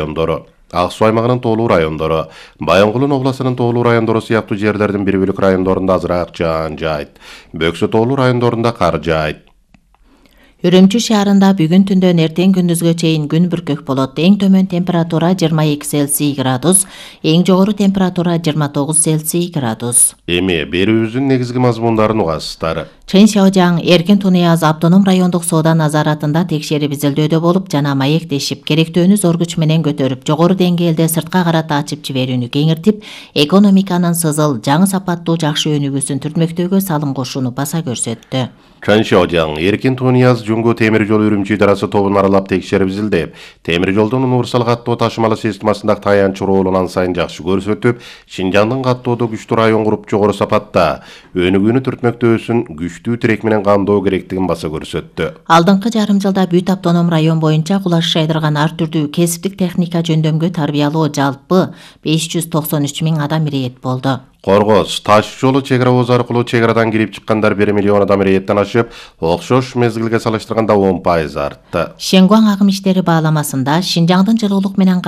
райондору, Ак Суу аймагынын тоолуу райондору, Баянгулдун областынын тоолуу райондору сыяктуу жерлердин бир бөлүк райондорунда азыраак жаан жаайт. Бөксө тоолуу райондорунда кар жаайт. Үрүмчү шаарында бүгүн түндөн эртең күндүзгө чейин күн бүркөк болот. Эң төмөн температура 22 Цельсий градус, эң жогору температура 29 Цельсий градус. Эми берүүбүздүн негизги мазмундарын угасыздар. Чын Шаожаң Эркин Тунуяз автоном райондук соода назаратында текшерип изилдөөдө болуп жана маектешип, керектөөнү зор күч менен көтөрүп, жогору деңгээлде сыртка карата ачып жиберүүнү кеңиртип, экономиканын сызыл, жаңы сапаттуу жакшы өнүгүүсүн түртмөктөөгө салым кошууну баса көрсөттү. Чын Шаожаң Эркин Тунуяз Жуңгу темир жол Үрүмчү идарасы тобун аралап текшерип изилдеп, темир жолдун универсал каттоо ташымалы системасындагы таянч роолун ан сайын жакшы көрсөтүп, Шинжаңдын каттоодо күчтүү район куруп жогору сапатта өнүгүүнү түртмөктөөсүн күчтүү тирек менен камдоо керектигин баса көрсөттү. Алдыңкы жарым жылда бүт автоном район боюнча кулаш шайдырган ар түрдүү кесиптик техника жөндөмгө тарбиялоо жалпы 593 000 адам ирэет болду. Коргоз таш жолу чек ара ооз аркылуу чек арадан кирип чыккандар 1 миллион адам ирэеттен ашып, окшош мезгилге салыштырганда 10% артты. Шенгуаң агым иштери бааламасында Шинжаңдын жылуулук менен